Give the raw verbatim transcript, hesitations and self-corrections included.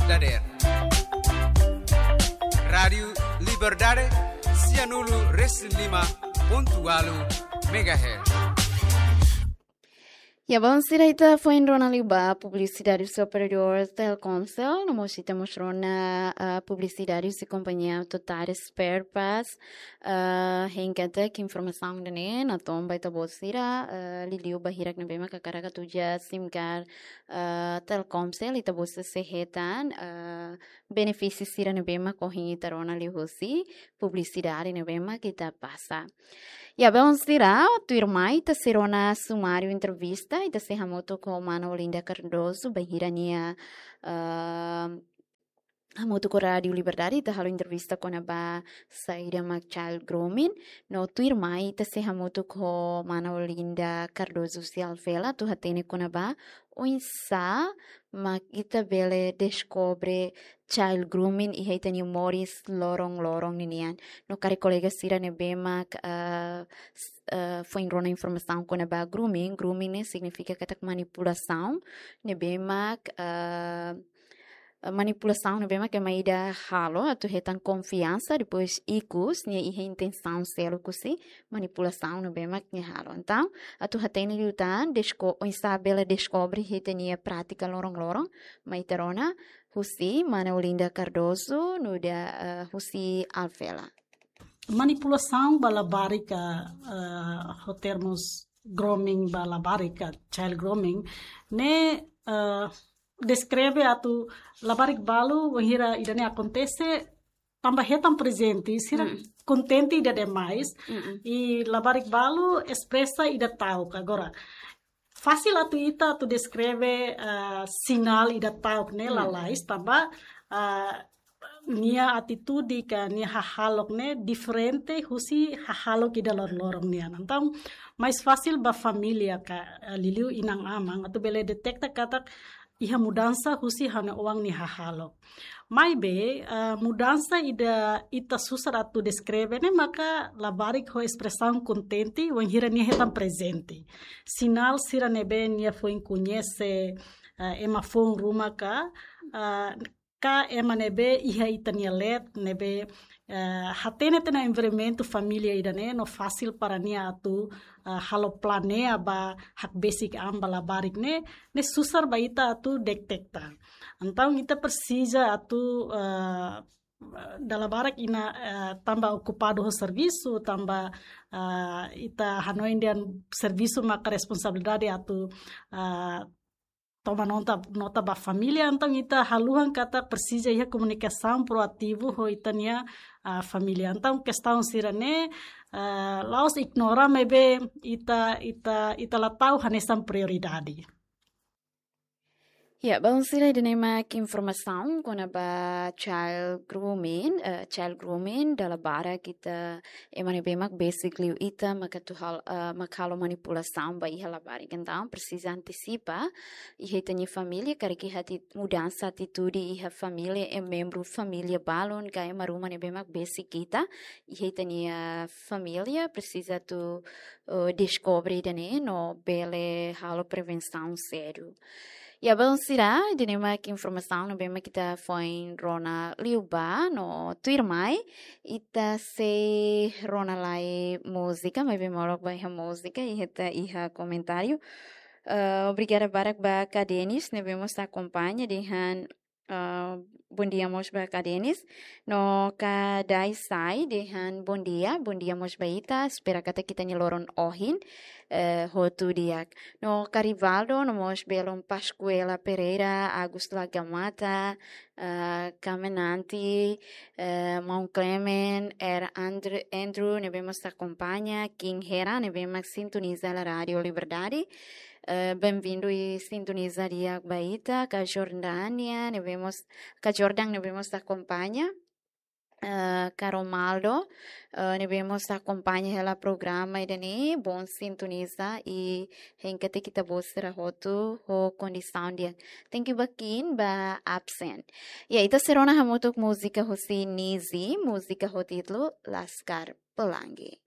dadeer. Rádiu Liberdade, sianulu resin lima pontu ualu megahertz. Ya, bom, sira, ita foin rona liu ba publisidade husi operadór Telkomcel, no mós ita mós rona, ah, publisidade husi kompañia Total Spare Parts, ah, hein katak informasaun ida-ne'e natoon ba ita-boot sira, ah, liuliu ba hirak ne'ebé mak hakarak atu uza SIM card, ah, Telkomcel, ita-boot sira sei hetan, ah, benefísiu sira ne'ebé mak ohin ita rona liu husi publisidade ne'ebé mak ita pasa. Ya, bom, sira, tuirmai ita sei rona sumáriu entrevista, ita sei hamutuk ho mana Olinda Cardoso, bainhira nia, ah, hamutuk ho Rádiu Liberdade, ita halo entrevista kona-ba saida mak child grooming, no tuirmai ita sei hamutuk ho mana Olinda Cardoso husi Alvela, atu hatene kona-ba oinsá mak ita bele deskobre child grooming iha ita-nia moris loron-loron ninian. No karik kolega sira ne'ebé mak, ah, s-, ah, foin rona informasaun kona-ba grooming. Grooming ne'e signifika katak manipulasaun ne'ebé mak, ah, manipulasaun ne'ebé mak ema ida halo atu hetan konfiansa, depois ikus nia iha intensaun seluk husi manipulasaun ne'ebé mak nia halo. Entaun, atu hatene liután, desko-, oinsá bele deskobre ita-nia prátika loron-loron, mai ita rona husi mana Olinda Cardoso, nu'udar, eh, husi Alvela. Manipulasaun ba labarik, eh, ho termus grooming ba labarik, child grooming, ne'e, eh, deskreve atu labarik balu, wainhira ida-ne'e akontese, tanba hetan prezente, sira Mm. kontente ida demais, Mm-mm. i labarik balu espresa ida ta'uk. Agora, fasil atu ita atu deskreve, ah, sinál ida ta'uk ne'e Mm. lalais, tanba, ah, nia atitude ka nia hahalok ne'e diferente husi hahalok ida loron-loron nian. Entaun, mais fasil ba família ka, ah, liuliu inan-aman, atu bele deteta katak iha mudansa husi ha'u-nia oan nia hahalok. Maibé, ah, mudansa ida ita susar atu deskreve ne'e maka labarik ho espresaun kontente, wainhira nia hetan prezente. Sinál sira ne'ebé nia foin koñese, ah, ema foun ruma ka, ah, ka ema ne'ebé iha ita-nia leet, ne'ebé, eh, hatene tiha ona envolvimentu família ida-ne'e, no fasil para nia atu, eh, halo planeia ba hakbesik an ba labarik ne'e, ne'e susar ba ita atu deteta. Entaun ita presiza atu, eh, dala barak inan, eh, tanba okupadu ho servisu, tanba, eh, ita hanoin dehan servisu maka responsabilidade atu, eh, toma nota, nota ba família, entaun ita haluha katak presiza iha komunikasaun proativu ho ita-nia, ah, família. Entaun kestaun sira-ne'e, ah, la'ós ignora, maibé ita, ita, ita la tau hanesan prioridade. Ya, bom, sira, ida-ne'e mak informasaun kona-ba child grooming, eh, child grooming, dala barak ita, ema ne'ebé mak besik liu ita, mak atu hal-, eh, mak halo manipulasaun ba iha labarik. Entaun, presiza antisipa, iha ita-nia família, karik iha ati-, mudansa atitude iha família, iha membru família balun, ka ema ruma ne'ebé mak besik ita, iha ita-nia família, presiza atu, eh, deskobre ida-ne'e, no bele halo prevensaun sedu. Ya, bom, sira, ida-ne'e mak informasaun ne'ebé mak ita foin rona liubá, no tuirmai, ita sei rona lai múzika, maibé molok ba iha múzika, iha ita iha komentáriu. Eh, obrigada barak ba Ka Denis, ne'ebé mós akompaña dehan, eh, bondia mós ba Ka Denis. No Ka Dai Sai dehan bondia, bondia mós ba ita, espera katak ita-nia loron ohin, eh, hotu di'ak. No Ka Rivaldo, no mós belun Pascuela Pereira, Agus Lagamata, eh, Kamenanti, eh, Maun Clement, Er Andr-, Andrew, ne'ebé mós akompaña, King Hera, ne'ebé mak sintoniza hela Rádiu Liberdade. Eh, benvindu i sintoniza di'ak ba ita, Ka Jordânia, ne'ebé mós, Ka Jordan, ne'ebé mós akompaña. Eh, Ka Romaldo, eh, ne'ebé mós akompaña hela programa ida-ne'e, bom sintoniza i hein katak ita-boot sira hotu ho kondisaun di'ak. Thank you barak ba absen. Ya, ita sei rona hamutuk múzika husi Nizi, múzika ho títulu Laskar Pelangi.